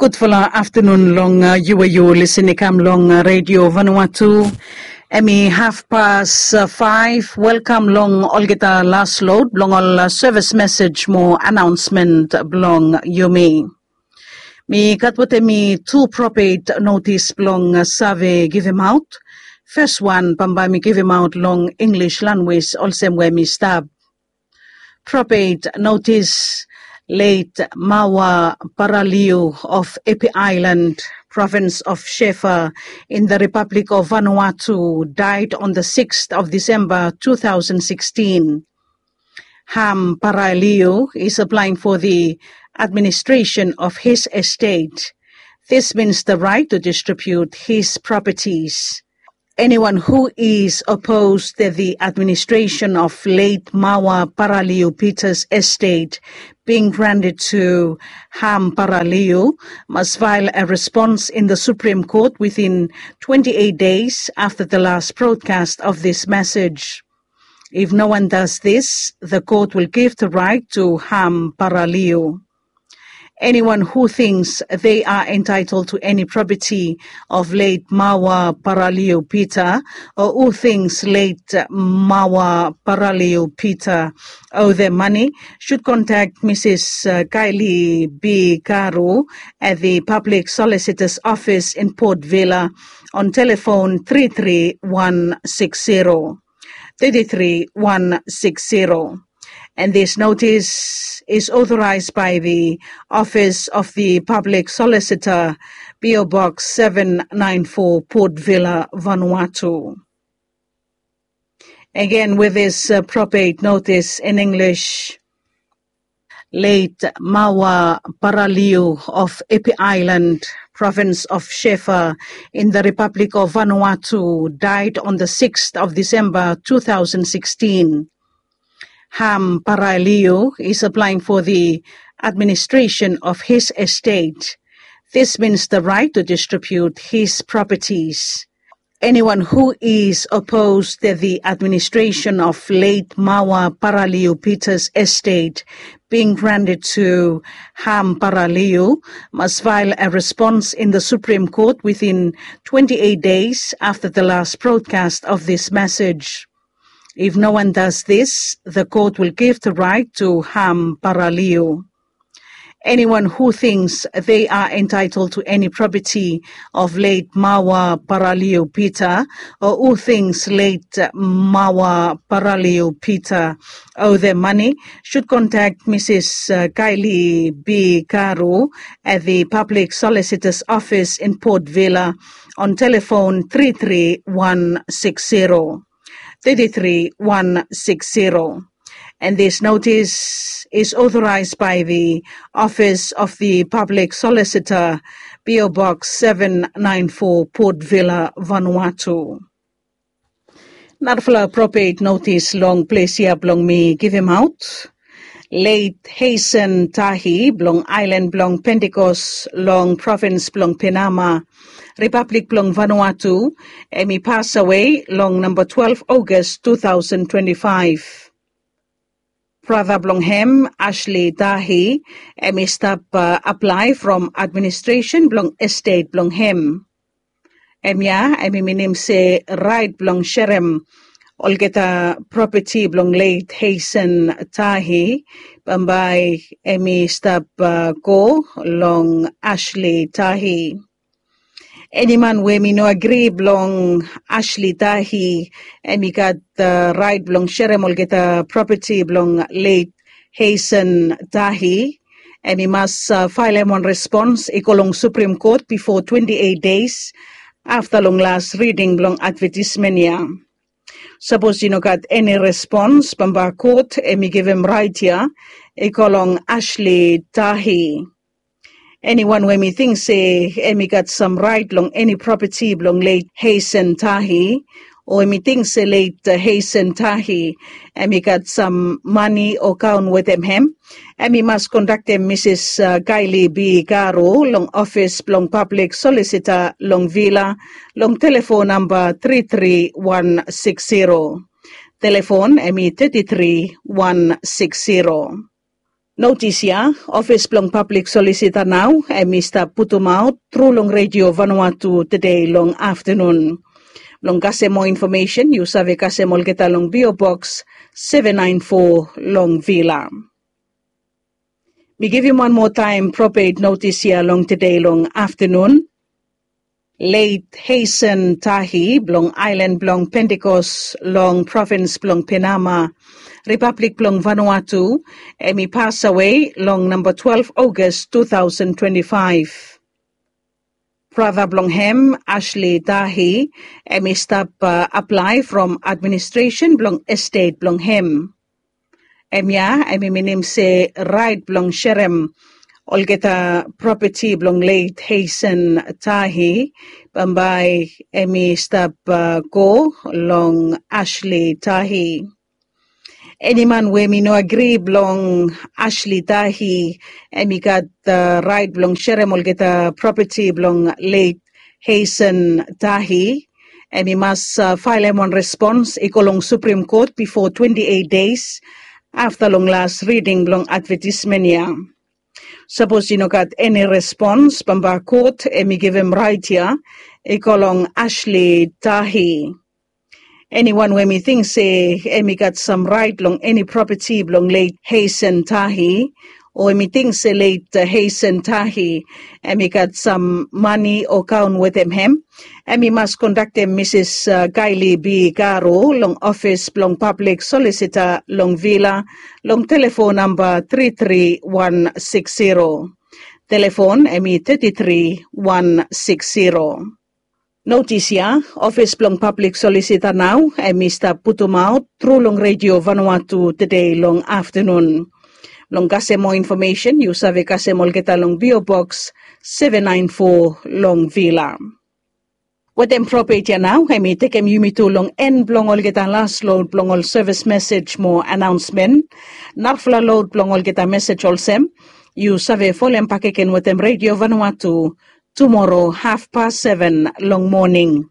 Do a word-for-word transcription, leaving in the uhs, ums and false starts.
Gudfala aftanun long yu we yu lisin i kam long redio Vanuatu. Em i hafpas faef. Welkam long olgeta las lod blong ol sevis mesej mo anaonsmen blong yumi. Mi gat wetem mi tu propet notis blong save givimaot. Fes wan bambae mi givimaot long Inglis lanwis olsem we mi stap. Propet notis. Late Mawa Paraliu of Epi Island, province of Shefa, in the Republic of Vanuatu, died on the sixth of December two thousand sixteen. Ham Paraliu is applying for the administration of his estate. This means the right to distribute his properties. Anyone who is opposed that the administration of late Mawa Paraliu Peter's estate being granted to Ham Paraliu must file a response in the Supreme Court within twenty-eight days after the last broadcast of this message. If no one does this, the court will give the right to Ham Paraliu. Anyone who thinks they are entitled to any property of late Mawa Paraliu Peter, or who thinks late Mawa Paraliu Peter owe them money, should contact Missus Kylie B. Karu at the Public Solicitor's Office in Port Vila on telephone three three one six zero. Thirty-three one six zero. And this notice is authorized by the Office of the Public Solicitor, P O Box seven nine four, Port Vila, Vanuatu. Again, with this uh, probate notice in English, late Mawa Paraliu of Epi Island, province of Shefa, in the Republic of Vanuatu, died on the sixth of December two thousand sixteen. Ham Paraliu is applying for the administration of his estate. This means the right to distribute his properties. Anyone who is opposed to the administration of late Mawa Paraliu Peter's estate being granted to Ham Paraliu must file a response in the Supreme Court within twenty-eight days after the last broadcast of this message. If no one does this, the court will give the right to Ham Paraliu. Anyone who thinks they are entitled to any property of late Mawa Paraliu Peter, or who thinks late Mawa Paraliu Peter owe them money, should contact Missus uh, Kylie B. Karu at the Public Solicitor's Office in Port Vila on telephone three three one six zero. Thirty-three one six zero. And this notice is authorized by the Office of the Public Solicitor, P O Box seven nine four, Port Vila, Vanuatu. Narafala probate notis long ples ya blong mi givimaot. Late Hazen Tahi blong ailan blong Pentecost long provins blong Penama, Republic blong Vanuatu, em i pasawe long namba twelve August two thousand twenty-five. Brata blong hem, Ashley Tahi, em i stap uh, apply from administration blong estate blong hem. Em ya em i minim se rait blong serem olgeta properti blong leit Hazen Tahi bambae em i stap uh, go long Ashley Tahi. Eni man we mi no agri blong Ashley Tahi em i gat uh, rait blong serem olgeta properti blong leit Hazen Tahi. Em i mas uh, failem wan respons i go long Supreme Court bifo twenty-eight days afta long las riding blong advetismen ya. Sapos i no gat eni respons bamba kot em i givim rait ya i go long Ashley Tahi. Eniwan we mi ting se em i gat sam rait long eni propeti blong leit Hazen Tahi, o em i ting se leit Hazen Tahi em i gat sam mani o kaon wetem hem, em i mas kondaktem Misis Kaili B Garo long ofis blong pablik solisita long Vila long telefon namba tri tri wan six zero. Telefon em i tri tri wan six zero. Notis ya, ofis blong pablik solisita nao em i stap putumaot tru long redio Vanuatu tede long aftanun. Blong kasem moa infomesen yu save kasem olgeta long P O Box seven nine four long Vila. Mi givim wan moa taem propet notis ya long tede long aftanun. Leit Heisen Tahi blong aelan blong Pentekos long provins blong Penama, Ripablik blong Vanuatu, em i pasawe long namba twelve August two thousand twenty-five. Brata blong hem, Ashley Tahi, em i stap aplae from administresen blong estet blong hem. Em ya em i minim se raet blong serem olgeta propeti blong leit Heisen Tahi bambae em i stap go long Ashley Tahi. Eni man we mi no agri blong Ashley Tahi, em i gat raet blong serem olgeta propeti blong leit Heisen Tahi, em i mas faelem wan respons i go long Suprim Kot bifo twenti eit deis afta long las riding blong advetismen ya. Sapos i no gat eni respons bambae kot em i givim raet ya i go long Ashley Tahi. Eniwan we mi ting se em i gat sam raet long eni propeti blong leit Heisen Tahi, o em i ting se leit Heisen Tahi em i gat sam mane o kaon wetem hem, em i mas kontaktem Misis Kaeli B Garo long ofis blong pablik solisita long Vila long telefon namba tri tri wan sikis zero. Telefon em i tri tri wan sikis zero. Notis ya, ofis blong pablik solisita nao em i stap putumaot tru long redio Vanuatu tede long aftanun. Blong kasem moa infomesen yu save kasem olgeta long P O Box seven nine four long Vila. Wetem propet ya nao em i tekem yumi tu long en blong olgeta las lod blong ol sevis mesej mo anaonsmen. Narafala lod blong olgeta mesej olsem, yu save folem bakegen wetem redio Vanuatu tumoro hafpas seven long moning.